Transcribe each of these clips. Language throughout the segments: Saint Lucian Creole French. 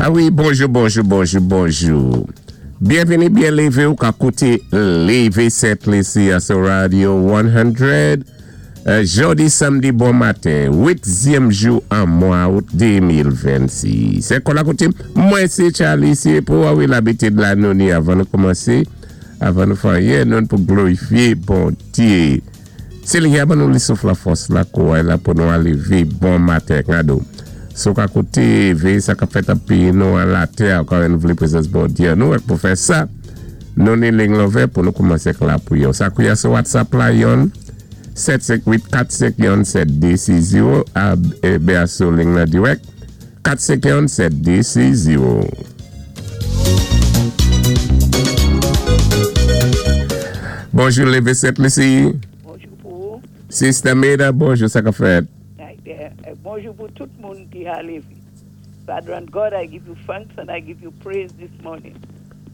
A wi, bonjou, bonjou, bonjou, bonjou. Byenvini, byen lévé ou ka kouté Lévé Sent Lisi a sou Radio 100. Jòdi samdi bon maten, uitzyèm jou an mwa out 2026. Se kon la koutim, mwen sé Charlie, sé pou a wi labitid la nou ni avan nou koumansé, avan nou fè anyen, nou pou glorifié Bondyé. Sényè a ban nou li souf la fòs la kouray la pou nou aleve bon maten kado. Si w ka koute veye sa kap fèt an peyi nou an latè a ka wè nou vle prezans Bondye an nou ak pou fè sa nou ni ling love pou nou koumanse ak lapriyè w sa koulye a sou whatsapp la yon 7 5 8 4 5 yon 7 2 6 0 a bè a sou ling lan dirèk 4 5 yon 7 2 6 0. Bonjou leve 7 mesi. Bonjou pou ou. Sister Meda bonjou sa kap fèt. Bonjou pou tout moun ki ha lévé. Father and God, I give you thanks and I give you praise this morning.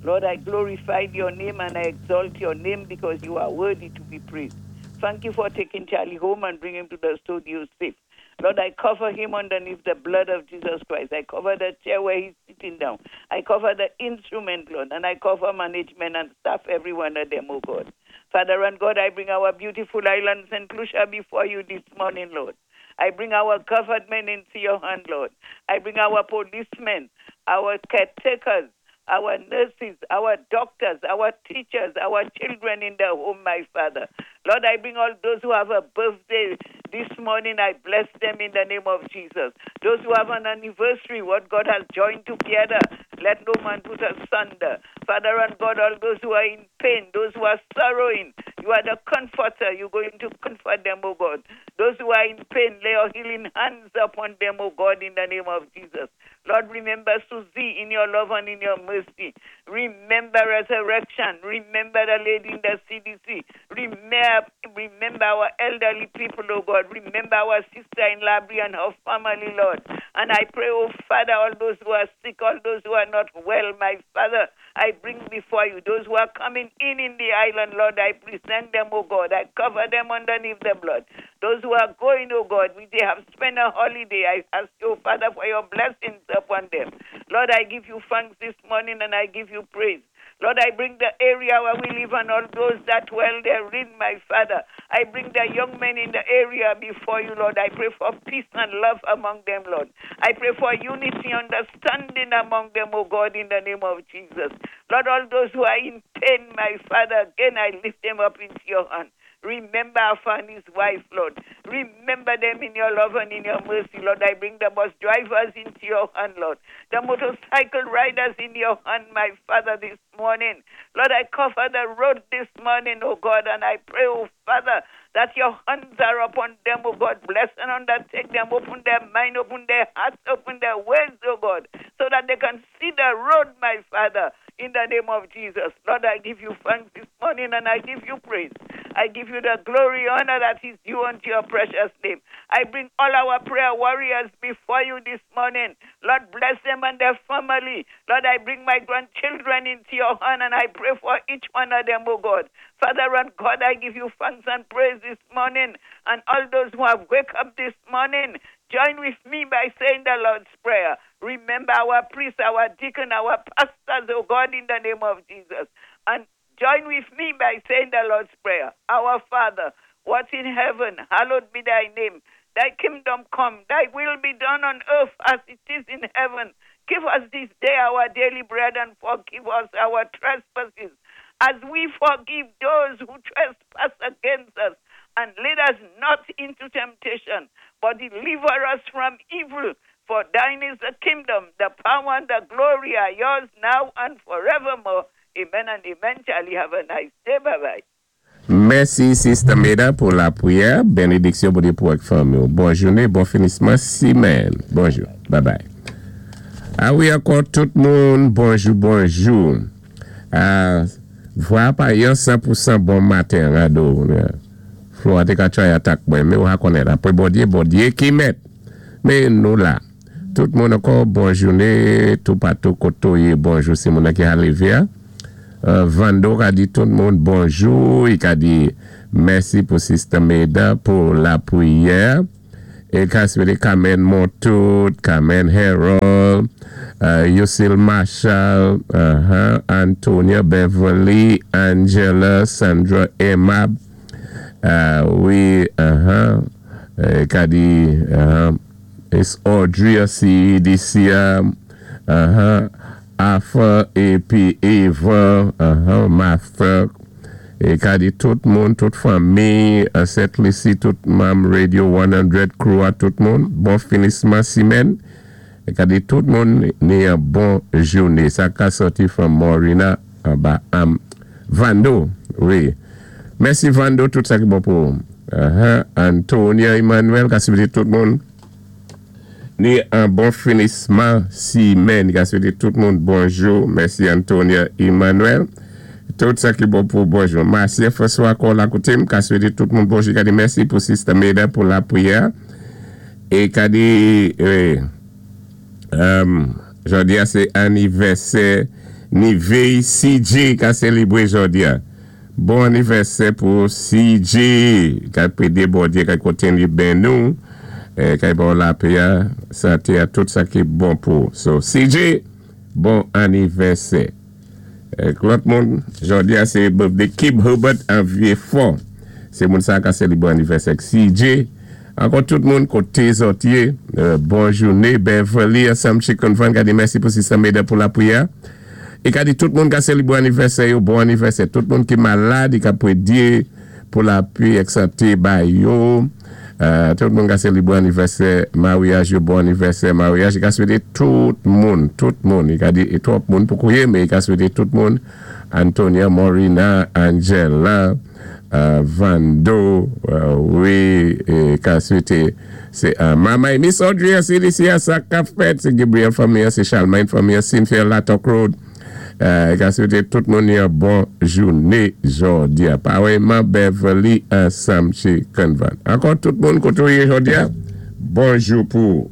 Lord, I glorify your name and I exalt your name because you are worthy to be praised. Thank you for taking Charlie home and bring him to the studio safe. Lord, I cover him underneath the blood of Jesus Christ. I cover the chair where he's sitting down. I cover the instrument, Lord, and I cover management and staff, every one of them, oh God. Father and God, I bring our beautiful island, St. Lucia, before you this morning, Lord. I bring our government into your hand, Lord. I bring our policemen, our caretakers, our nurses, our doctors, our teachers, our children in the home, my Father. Lord, I bring all those who have a birthday this morning. I bless them in the name of Jesus. Those who have an anniversary, what God has joined together, let no man put asunder. Father and God, all those who are in pain, those who are sorrowing, you are the comforter. You're going to comfort them, oh God. Those who are in pain, lay your healing hands upon them, oh God, in the name of Jesus. Lord, remember Susie in your love and in your mercy. Remember resurrection. Remember the lady in the CDC. Remember, remember our elderly people, oh God. Remember our sister in Labrie and her family, Lord. And I pray, oh Father, all those who are sick, all those who are not well, my Father, I bring before you those who are coming in the island, Lord. I present them, oh God. I cover them underneath the blood. Those who are going, oh God, we they have spent a holiday. I ask you, Father, for your blessings upon them. Lord, I give you thanks this morning and I give you praise. Lord, I bring the area where we live and all those that dwell therein, my Father. I bring the young men in the area before you, Lord. I pray for peace and love among them, Lord. I pray for unity, understanding among them, oh God, in the name of Jesus. Lord, all those who are in pain, my Father, again I lift them up into your hand. Remember Alpha and his wife, Lord. Remember them in your love and in your mercy, Lord. I bring the bus drivers into your hand, Lord. The motorcycle riders in your hand, my Father, this morning. Lord, I cover the road this morning, oh God, and I pray, oh Father, that your hands are upon them, oh God. Bless and undertake them, open their mind, open their hearts, open their ways, oh God, so that they can see the road, my Father, in the name of Jesus. Lord, I give you thanks this morning and I give you praise. I give you the glory, honor that is due unto your precious name. I bring all our prayer warriors before you this morning. Lord, bless them and their family. Lord, I bring my grandchildren into your hand and I pray for each one of them, oh God. Father and God, I give you thanks and praise this morning. And all those who have wake up this morning, join with me by saying the Lord's Prayer. Remember our priests, our deacon, our pastors, oh God, in the name of Jesus. And join with me by saying the Lord's Prayer. Our Father, what in heaven, hallowed be thy name. Thy kingdom come, thy will be done on earth as it is in heaven. Give us this day our daily bread and forgive us our trespasses as we forgive those who trespass against us. And lead us not into temptation, but deliver us from evil. For thine is the kingdom, the power, and the glory are yours now and forevermore. Amen and amen. Charlie, have a nice day. Bye bye. Mèsi Sister Meda pou lapwiyè, benediksyon Bondye pou ak fanmi w. Bon jounen, bon finisman simèn. Bonjou. Bye bye. A wi ankò tout moun bonjou bonjou. A vwa a pa yon 100% bon maten rado. Flo a te ka try atak mwen men ou ha konnen apre Bondye, Bondye ki mèt. Men nou la. Tout moun ankò bon jounen toupatou kote w ye bonjou se moun nan ki ha leve a. Vando ka di tout moun bonjou, i ka di mèsi pou Sister Meda pou lapriyè. E ka swete Carmen Montout, Carmen Harold, Yosil Marshall, Antonia, Beverly, Angela, Sandra, Emma, wi, ka di, it's Audrey, CEDC, Arthur, épi Eva, Martha, é ka di tout moun, tout fanmi, Sent Lisi, tout manm Radio 100 crew a tout moun, bon finisman simèn, é ka di tout moun ni yon bon jouné. Sa ka sòti from Morina, anba am Vando, wi. Mèsi Vando, tout sa ki bon pou Antonia Emmanuel, ka swété tout moun ni yon bon finisman simèn, ka swété tout moun bonjou. Mèsi Antonia Emmanuel. Tout sa ki bon pou bonjou. Marcia François Kola Koutim, ka swété tout moun bonjou. Ka di mèsi pou Sister Meda pou lapriyè. É ka di, wi, jòdi a sé anivèsè Nivey CJ ka sélébwé jòdi a. Bon anivèsè pou CJ ka pédé Bondyé ka kontinyé benni nou, ka ba lapè, santé a tout sa ki bon pou. So CJ, bon anivèsè. Lòt moun, jòdi a sé birthday Kib Herbert an Vieux-Fort. Sé moun sa ka sélébwé anivèsè CJ. Ankò tout moun koté zòt yé, bon jouné, Beverly ansanm Chicken Van, ka di mèsi pou Sister Meda pou lapriyè. É ka di tout moun ka sélébwé anivèsè yo, bon anivèsè. Tout moun ki malad, i ka pédé pou lapè ak santé ba yo. Tout moun ka sélébwé anivèsè maryaj yo, bon anivèsè maryaj. I ka swété tout moun, tout moun. I ka di é twòp moun pou kouwé, men i ka swété tout moun. Antonia, Morina, Angela, Vando, wi, ka swété sé Mama Miss Audrey, CDC, sa ka fèt, sé Gabriel fanmi, sé Charlemagne fanmi, Cynthia Latok Road. Ka swété tout moun yon bon jouné jòdi a. Pareillement Beverly ansanm Chicken Van. Ankò tout moun koté ou yé jòdi a, bonjou pou.